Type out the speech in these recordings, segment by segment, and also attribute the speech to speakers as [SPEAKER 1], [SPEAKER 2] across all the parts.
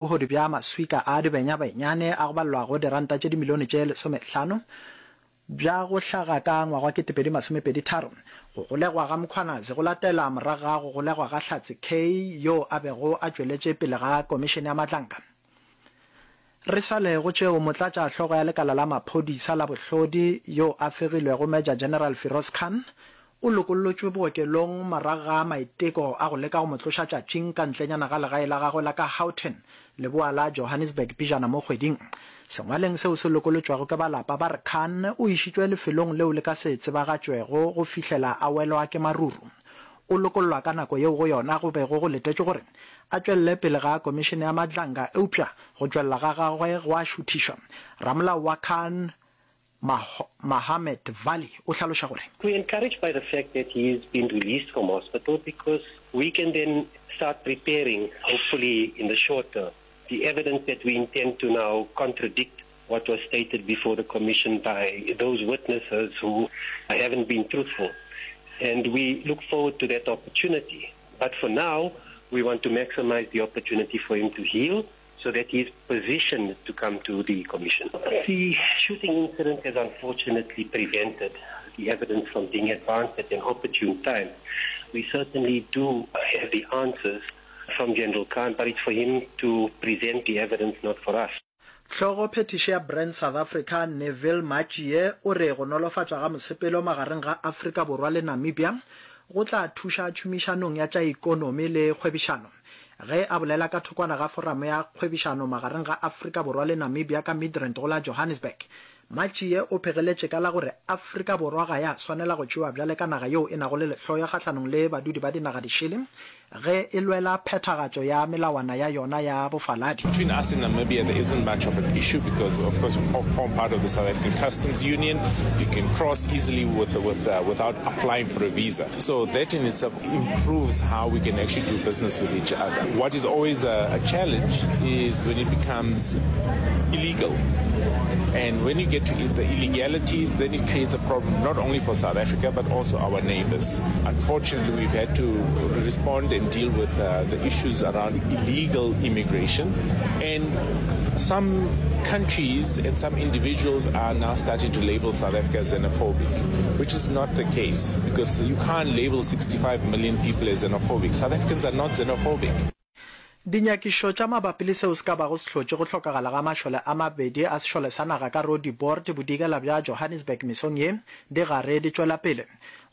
[SPEAKER 1] Bohodu bja maswika a dibenyabenyane a go balelwago diranta tše dimilione tše lesomehlano bja go hlaga ka ngwaga wa 2023. Go golegwa ga Mkhwanazi go latela morago ga go golegwa ga Hlatse Kay yo a bego a tšweletše pele ga Komišene ya Madlanga. Re sa le go tšeo, Motlatša hlogo ya lekala la maphodisa la bohlodi yo a fegilwego Major General Firoz Khan O lokollotšwe bookelong morago ga maiteko a go leka go mo tloša tšatšing ka ntlenyana ga legae la gagwe la ka Houghton, leboa la Johannesburg pejana mo kgweding. Sengwaleng seo se lokolotšwego ke ba lapa ba re Khan o išitšwe lefelong leo le ka se tsebagatšwego go fihlela a welwa ke maruru. O lokollwa ka nako yeo go yona go bego go letetšwe gore a tšwelele pele ga Komišene ya Madlanga eupša go tšwelela ga gagwe gwa šuthišwa. Ramolao wa Khan, Mahomed Vally o hlaloša gore.
[SPEAKER 2] We're encouraged by the fact that he has been released from hospital because we can then start preparing, hopefully in the short term, the evidence that we intend to now contradict what was stated before the commission by those witnesses who haven't been truthful. And we look forward to that opportunity. But for now, we want to maximize the opportunity for him to heal so that he is positioned to come to the commission. The shooting incident has unfortunately prevented the evidence from being advanced at an opportune time. We certainly do have the answers from General Khan, but it's for him to present the evidence, not for us.
[SPEAKER 1] Hlogo phethiši ya Brand South Africa, Neville Matjie o re go nolofatšwa ga mosepelo magareng ga Afrika Borwa le Namibia go tla thuša tšhomišanong ya tša ikonomi le kgwebišano. Ge a bolela ka thokwana ga foramo ya kgwebišano magareng ga Afrika Borwa le Namibia ka Midrand go la Johannesburg, Matjie o phegeletše ka la gore Afrika Borwa ga ya swanela go tšewa bjale ka naga yeo e nago le lehloyo kgahlanong le badudi ba dinaga dišele ge e lwela phethagatšo ya melawana ya yona ya bofaladi.
[SPEAKER 3] Between us and Namibia there isn't much of an issue because of course we form part of the South African Customs Union. You can cross easily with, with, uh, without applying for a visa. So that in itself improves how we can actually do business with each other. What is always a, a challenge is when it becomes illegal. And when you get to the illegalities, then it creates a problem not only for South Africa but also our neighbors. Unfortunately, we've had to respond and deal with uh, the issues around illegal immigration. And some countries and some individuals are now starting to label South Africa as xenophobic, which is not the case because you can't label 65 million people as xenophobic. South Africans are not xenophobic.
[SPEAKER 1] Dinyakišišo tša mabapi le seo se ka bago se hlotše go hlokagala ga mašole a mabedi a sešole sa naga ka Roodepoort bodikela bja Johannesburg mesong ye di gare di tšwela pele.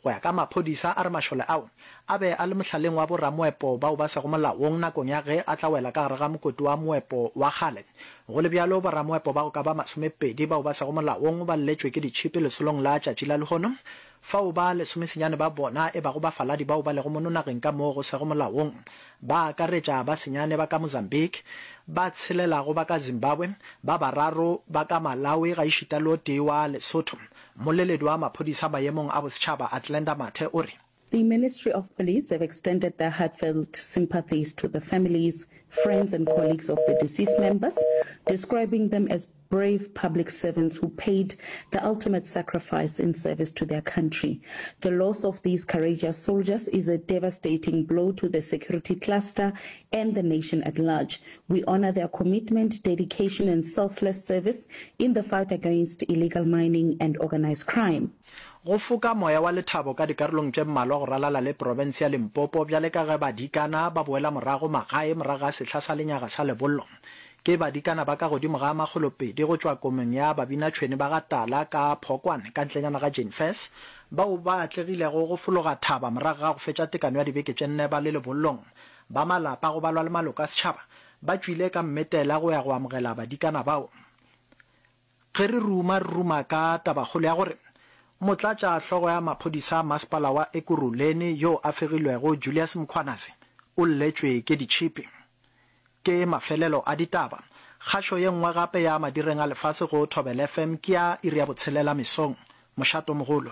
[SPEAKER 1] Go ya ka maphodisa a re mašole ao a be a le mohlaleng wa boramoepo bao ba sego molaong nakong ya ge a tla wela ka gare ga mokoti wa moepo wa kgale. Go le bjalo, boramoepo ba go ka ba masomepedi bao ba sego molaong ba lletšwe ke ditšhipi lesolong la tšatši la lehono, fao ba lesomesenyane ba bona e bago bafaladi bao ba lego mono nageng ka moo go sego molaong. Ba akaretša ba senyane ba ka Mozambique, ba tshelelago ba ka Zimbabwe, ba bararo ba ka Malawi gaešita le o tee wa Lesotho. Mmoleledi wa maphodisa maemong a bosetšhaba Athlenda Mathe o re.
[SPEAKER 4] The Ministry of Police have extended their heartfelt sympathies to the families, friends and colleagues of the deceased members, describing them as brave public servants who paid the ultimate sacrifice in service to their country. The loss of these courageous soldiers is a devastating blow to the security cluster and the nation at large. We honor their commitment, dedication and selfless service in the fight against illegal mining and organized crime.
[SPEAKER 1] Go foka moya wa lethabo ka dikarolong tše mmalwa go ralala le profense ya Limpopo bjale ka ge badikana ba boela morago magae morago ga sehla sa lenyaga sa lebollo. Ke badikana ba ka godimo ga makgolopedi go tšwa komong ya Babinatšhwene ba ga Tala ka Phokwane ka ntlenyana ga Jane Furse bao ba atlegilego go fologa thaba morago ga go fetša tekano ya dibeke tše nne ba le lebollong. Ba malapa go balwa le maloko a setšhaba ba tšwile ka mmetela go ya go amogela badikana bao. Ge re ruma, re ruma ka tabakgolo ya gore Motlatša hlogo ya maphodisa a masepala wa Ekurhuleni yo a fegilwego Julius Mkhwanazi o lletšwe ke ditšhipi. Ke mafelelo a ditaba. Kgašo ye nngwe gape ya madireng a lefase go Thobela FM ke ya iri ya botshelela mesong. Mošato mogolo.